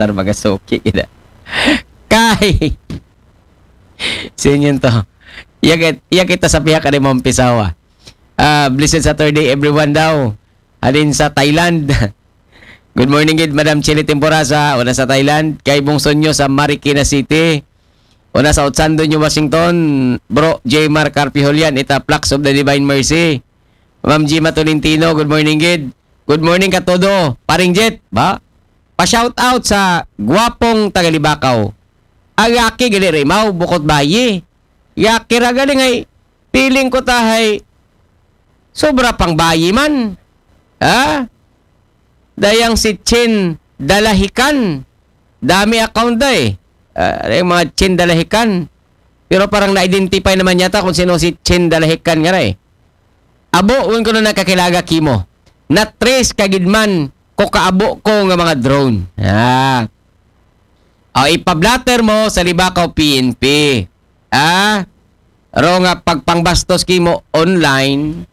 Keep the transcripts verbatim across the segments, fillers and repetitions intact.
Tar mga suki kita. Kay. Sinyon to. Iya kit-, iya kita sa pihak ni Ma'am Pisawa. Ah, blessed Saturday, everyone daw. Halin sa Thailand. Good morning, gid, Madam Chili Temporasa. Una sa Thailand. Kay Bong Sonyo sa Marikina City. Una sa Otsando, New Washington. Bro, J Mar Carpio Julian, ita Plaques of the Divine Mercy. Ma'am Gima Tolentino, good morning, gid. Good morning ka todo. Paring Jet, ba? Pa-shout out sa gwapong taga Libakaw. Ang yaki gali rimaw, bukod bayi. Yaki ra gali ngay, feeling ko tahay sobra pang bayi man. Ha? Dayang si Chin Dalahikan. Dami account da eh. Ah, yung mga Chin Dalahikan. Pero parang na-identify naman yata kung sino si Chin Dalahikan nga ra eh. Abo, un ko na nakakilaga kimo. Na-trace ka gid man ko kaabo ko nga mga drone. Ah. O, ipablatter mo sa Libakaw P N P. Ah? Ro nga pagpangbastos kimo online.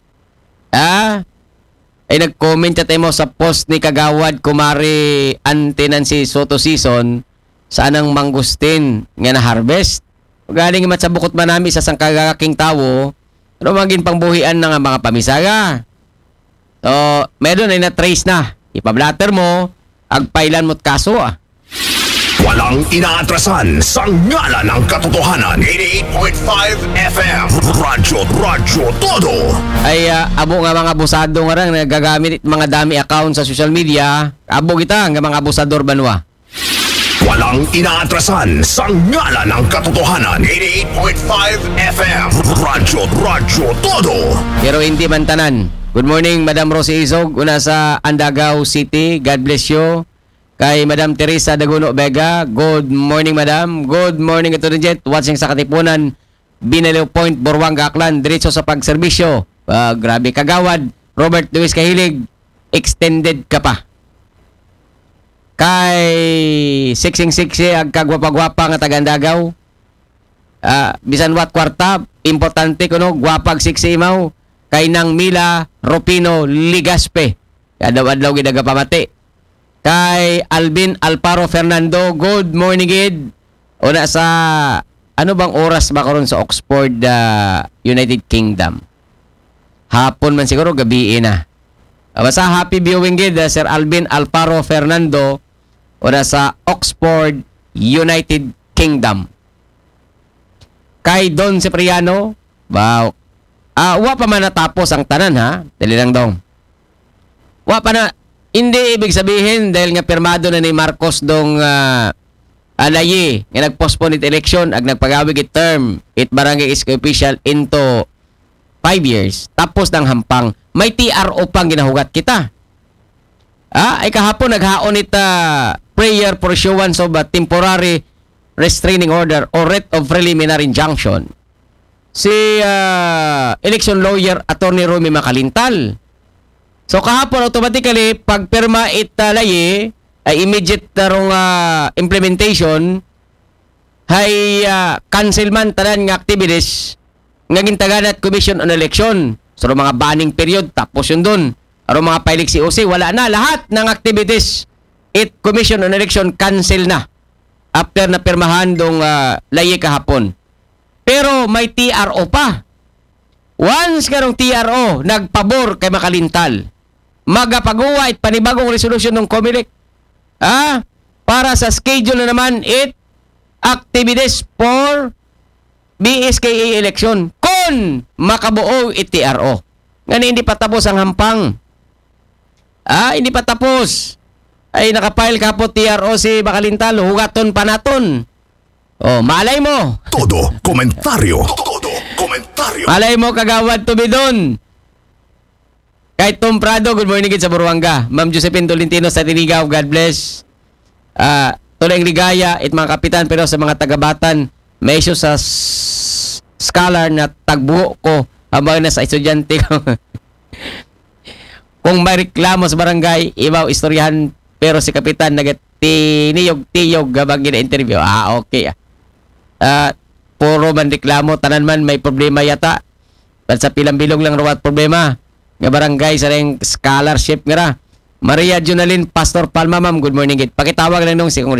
Ah? Ay nag-comment ka mo sa post ni Kagawad Kumari Ante Nancy Soto Season sa anang mangustin nga na-harvest. Galing man sa bukot manami sa sangkagaking tawo, pero maging pangbuhian na nga mga pamisaga. So, meron ay na-trace na. Ipablatter mo, agpailan mo't kaso ah. Walang inaatrasan sa ngalan ng katotohanan. eighty-eight point five F M. Radyo, Radyo Todo. Ay, ah, abo nga mga abusado nga rang nagagamit mga dami account sa social media. Abo kita nga mga abusador banwa. Walang inaatrasan sa ngalan ng katotohanan. eighty-eight point five F M. Radyo, Radyo Todo. Pero hindi man tanan. Good morning, Madam Rosie Izog. Una sa Andagaw City. God bless you. Kay Madam Teresa Daguno Vega. Good morning, Madam. Good morning, Attorney Jet. Watching sa Katipunan, Binaliw Point, Buruanga, Aklan. Diretso sa pagserbisyo. Ah, grabe, Kagawad Robert Luis Kahilig. Extended ka pa. Kay siksing siksi ag kagwapa-gwapa nga taga Andagaw. Ah, bisan wat kwarta, importante kuno gwapa ag siksi imaw. Kay Nang Mila Rupino Ligaspe. Adlaw-adlaw gid nagapamati. Kay Alvin Alparo Fernando, good morning gid. Una sa, ano bang oras ba karon sa Oxford, ah, United Kingdom? Hapon man siguro, gabi na. Ah, basta happy viewing gid, ah, Sir Alvin Alparo Fernando, una sa Oxford, United Kingdom. Kay Don Cipriano, wow. Ah, wa pa man natapos ang tanan ha. Dali lang dong. Wa pa na, hindi ibig sabihin dahil nga pirmado na ni Marcos dong ah, alayi nga nag-postpone it election ag nagpagawig it term it barangay S K official into five years, tapos ng hampang, may T R O pang ginahugat kita. Ah, ay kahapon naghaon it ah, prayer for issuance of a temporary restraining order or writ of preliminary injunction. Si ah, election lawyer Attorney Romy Makalintal. So kahapon automatically pagpirma it ah, layi ay immediate na rong ah, implementation hay ah, cancel man tanan nga activities nga gintaganat Commission on Election. So mga banning period tapos yun dun. Aron mga pailik C O C, wala na lahat ng activities it Commission on Election cancel na after na pirmahan dong ah, layi kahapon. Pero may T R O pa. Once karong T R O nagpabor kay Makalintal, magapaguwa it panibagong resolusyon ng Comelec. Ah, para sa schedule na naman it activities for B S K A election kon makabuo it T R O. Ngani hindi pa tapos ang hampang. Ah, hindi pa tapos. Ay nakapile ka po T R O si Makalintal, hugaton pa naton. Oh, malay mo. Todo komentaryo. Todo komentaryo. Malay mo, Kagawad Tubidon. Kay Tom Prado, good morning gid sa Buruanga. Ma'am Josephine Tolentino sa Tinigaw, God bless. Ah, Tuloy Ligaya, it mga kapitan, pero sa mga tagabatan, may issue sa s- scholar na tagbuo ko habang nasa estudyante ko. Kung may reklamo sa barangay, ibaw istoryahan, pero si kapitan nagatiniyog-tiyog habang gina-interview. Ah, okay. Ah, puro man reklamo, tanan man may problema yata. At sa pilang bilog lang rawat problema. Nga barangay sa ring scholarship nga ra. Maria Junalin, Pastor Palma, ma'am, good morning gid. Pakitawag lang nung si Congressman